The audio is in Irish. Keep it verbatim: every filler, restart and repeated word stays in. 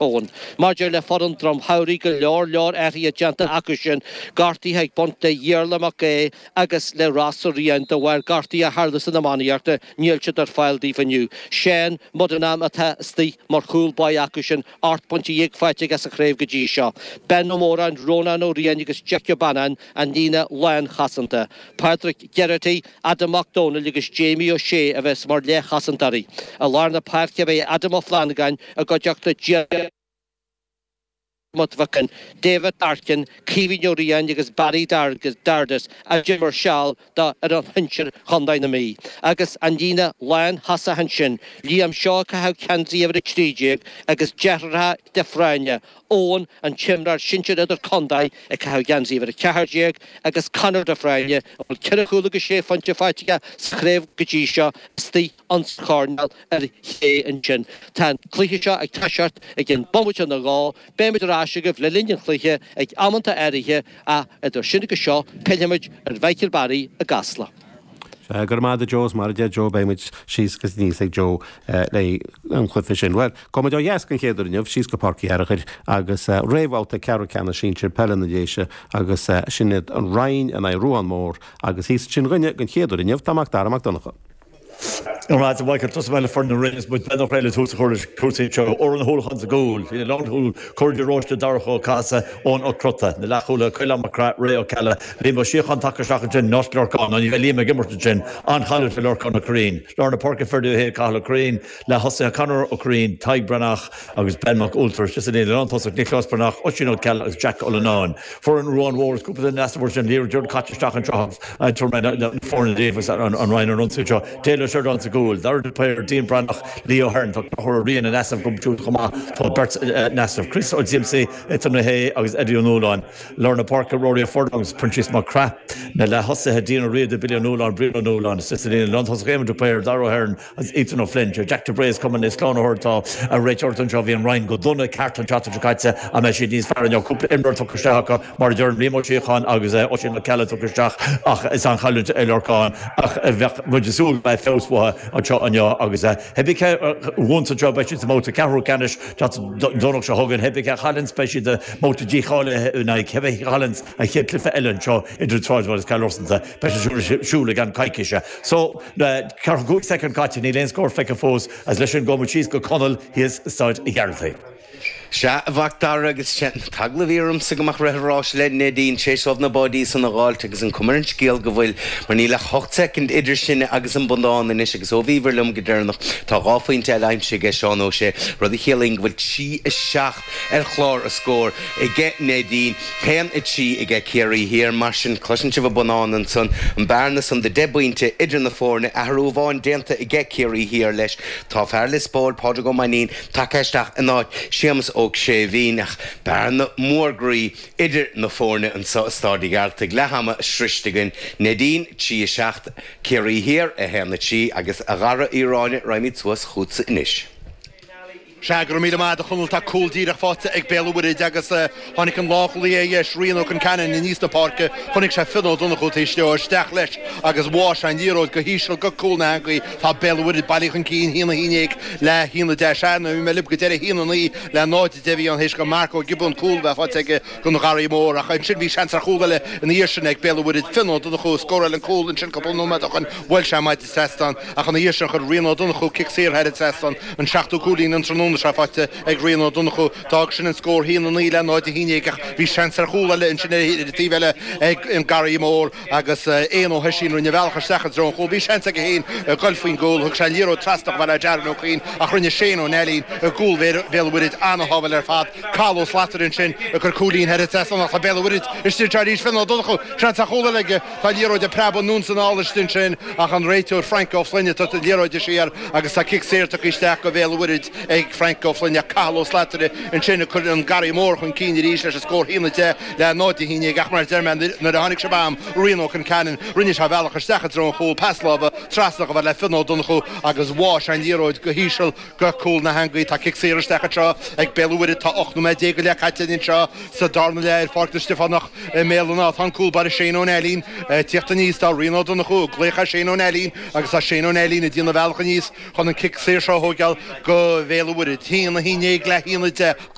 Eoin. Maidir le foireann Droim Shamhraidh, go leor leor athruithe déanta acu sin, gortuithe ag baint le Iarla Mac Aodha agus le Ross Ó Riain de bharr gortuithe a tharla san iománaíocht, níl siad ar fáil daoibh inniu. Seán Mudenham atá istigh mar chúl báire acu sin, ocht bpointe dhéag faighte aige sa chraobh go dtí seo. Ben Ó Móráin, Rónán Ó Riain agus Jeaic Ó Bannáin an líne lánchosanta. Pádraig Geraghty, Adam Mac Dónaill agus Jamie Ó Sé a bheas mar leathchosantóirí. I lár na páirce beidh Adam Ó Flannagáin i gcuideachta Diarmuid Mhic Con, David Larkin, Caoimhín Ó Riain agus Barry Dardis a d'imir seal do fhoireann shinsir Chontae na Mí. Agus an líne lántosach ansin, Liam Seoighe ag caitheamh geansaí uimhir a trí déag agus deartháireacha de Phráinne, Eoin, an t-imreoir sinsir idirchontae, ag caitheamh geansaí uimhir a ceathair déag agus Conor de Phráinne, a bhfuil ceithre chúl agus sé phointe faighte aige sa chraobh go dtí seo, istigh insa choirnéal ar chlé ansin. Tá an cluiche seo ag toiseacht i gcionn bomaite ina dhó. Beimid ar ais agaibh le linn an chluiche ag amanta áirithe ach idir sin agus seo, pillfimid ar Mhichael Barry i gCasla. Sea, go raibh maith agat a Joe, is mar a deir Joe, beidh muid síos agus aníos ag Joe le an chluiche sin. Bhuel, gabhfaidh muid ó dheas den chéad uair inniu, síos go Páirc Uí Fhearchair agus réamhbhabhta ceathrú ceannais sinsir peile na Déise agus sin iad an Rinn in aghaidh Ruadhán Mór agus thíos ansin dhúinne den chéad uair inniu tá Mac Dara Mac Donncha. Go raibh maith agat a Mhichael, tosóidh mé le foireann na Rinne is muid beagnach réidh le tús a chur leis cúrsaí anseo. Odhrán Ó hUallacháin sa gcúl, ina lánchúl, Cóir de Róiste, Darach Ó Cathasaigh, Eoin Ó Crotta, na leathchúlaithe, Caolán Mac Craith, Ray Ó Ceallaigh, Liam Ó Síocháin tagtha isteach ansin, in áit Lorcán, nó ní bheidh Liam ag imirt ansin, an-chailliúint do Lorcán Ó Curraoin. Lár na páirce, Ferdia Ó hAodha, Cathal Ó Curraoin, leath-thosaithe, Conor Ó Curraoin, Tadhg Breathnach agus Ben Mac Ualtair, istigh sa líne lántosach, Nioclás Breathnach, Oisín Ó Ceallaigh agus Jack Ó Leannáin. Foireann Ruadhán Mhór is cúpla duine in easnamh ansin, liathróid caite isteach anseo tabharfaidh mé na foirne daoibh agus an Rinn ar an ionsaí anseo. Dale Ó Seireadáin sa gcúl, Dara de Paor, Dean Breathnach, Leo Hearn, tá Conchúr Ó Riain in easnamh acu siúd chomh maith, tá beirt in easnamh, Chris Ó Díomsaí, Ethan Ó hAodha agus Eddie Ó Nualláin. Lár na páirce, Rory Ó Furlong agus Proinsias Mac Craith, na leath-thosaithe, Dean Ó Riada, Billy Ó Nualláin, Brian Ó Nualláin, istigh sa líne lántosach, Éamon de Paor, Dara O'Hearn agus Ethan O'Flynn. Jack de Bréas cumann is slánaitheoir atá ag réiteoireacht anseo. Bhí an Rinn go dona ceart an tseachtain seo caite an mbeidh siad níos fearr inniu? Cúpla imreoir tugtha isteach acu mar a deirim, Liam Ó Síocháin agus Oisín Mac Ceallaigh tugtha isteach ach is an-chailliúint é Lorcán ach bheadh muid ag súil go mbeidh feabhas uathu anseo inniu agus cibé cé a bhuanns anseo beidh siad sa mbabhta ceathrú ceannais Domhnach seo chugainn. Cibé cé a chailleanns beidh siad i mbabhta dícháilithe in aghaidh cibé a chailleanns an chéad chluiche eile anseo idir Sráidbhaile agus Cill Rosanta. Beidh sé ar siúl i gceann coicíse. So, ceathracha cúig soicind caite, níl aon scór feicthe fós agus leis sin gabhfaidh muid síos go Conall thíos i Staid an Ghearaltaigh. Sea, a Mhac Dara, agus sé an t-eagla a bhí ormsa go mbeadh rith an ráis le Neidín tar éis dóibh na báidí san a dh'fháilt agus an cuma ar an scéal go bhfuil, mar níl ach ocht soicind idir sinne agus an bonnán anois agus ó bhíobhair liom go deireanach tá dhá phointe eile aimsithe aige Seán Ó Sé, rud a chiallaíonn go bhfuil trí a seacht ar chlár an scóir aige Neidín, haon a trí aige Ciarraí Thiar. Mar sin, cloiseann sibh an bonnán ansan, an bearna san de deich bpointe idir na foirne, athrú amháin déanta aige Ciarraí Thiar leis, tá fear Lios Póil, Pádraig Ó Mainnín, tagtha isteach in áit Séamus Óg Séimhín, ach bearna mhór groí idir na foirne anseo i Stáid an Ghearaltaigh. Leath ama sroiste againn. Neidín, trí a seacht, Ciarraí Thiar, a haon a trí, agus a Dhara Uí Ráinne, raghaimid suas chugatsa anois. Sea, go raibh míle maith agat a Chonaill, tá cúl díreach faighte ag Béal an Mhuirthid agus tháinig an lánchúlaí ar dheis, Rian Ó Conceanainn, aníos na páirce, chonaic sé Fionn Ó Donnchú taobh istigh, isteach leis agus bháigh sé an liathróid go híseal go cúl na heangaí. Tá Béal an Mhuirthid bailithe chun cinn, a haon a haon déag le haon a deich. Sea, nuair a bhí mé libh go deireadh, a haon a naoi le náid a deich a bhí ann théis go Mark Ó Giobúin cúl a bheith faighte aige don Gharraí Mór ach ansin bhí seans ar chúl eile ina dhiaidh sin ag Béal an Mhuirthid. Fionn Ó Donnchú a scóráil an cúl ansin cúpla nóiméad ó shin. Bhuail sé maide trasnán ach ina dhiaidh sin chuir Rian Ó Donnchú cic saor thar an trasnán, an seachtú cúilín an tráthnóna seo faighte ag Rian Ó Donnchú. D'fhág sin an scór a haon a naoi le náid a haon déag ach bhí seans ar chúl eile ansin ar an taobh eile ag an Garraí Mór agus Éanna Ó hOisín rinne a bhealach isteach i dtreo an chúil. Bhí seans aige féin goil faoin gcúl. Thug sé an liathróid trasna chomh fada le Darren Ó Cuinn ach rinne Shane Ó Neilín i gcúl Bhéal an Mhuirthid ana-shábháil ar fad. Cathal Ó Slatara ansin ag cur cúilín thar an trasnán ach tá Béal an Mhuirthid istigh anseo arís. Fionn Ó Donnchú, seans ar chúl eile aige. Tá an liathróid ag preabadh anonn is anall istigh ansin ach an réiteoir Frank Ó Floinn ag tabhairt an liathróid siar agus tá cic saor tugtha isteach go Bhéal an Mhuirthid ag Frank Ó Floinn ach Cathal Ó Slatara ansin ag cur an Garraí Mór chun cinn arís leis an scór a haon a deich le náid a haon déag ach mar a deir mé nuair a tháinig sibh agam Rian Ó Conceanainn rinne sé a bhealach isteach i dtreo an chúil, pas láimhe trasna chomh fada le Fionn Ó Donnchú agus bháigh sé an liathróid go híseal go cúl na heangaí. Tá cic saor isteach anseo ag Béal an Mhuirthid. Tá ocht nóiméad déag go leith caite anseo sa darna leath ar Pháirc na Stiofánach i mBéal an Átha. Tá an cúl báire Shane Ó Neilín ag tíocht aníos. Tá Rian Ó Donnchú ag glaoch ar Shane Ó Neilín agus tá Shane Ó Neilín ag déanamh a bhealach aníos chun an cic saor seo a thóigeáil go Bhéal an Mhuirthid. Mhuirid, haon a haon déag le haon a deich.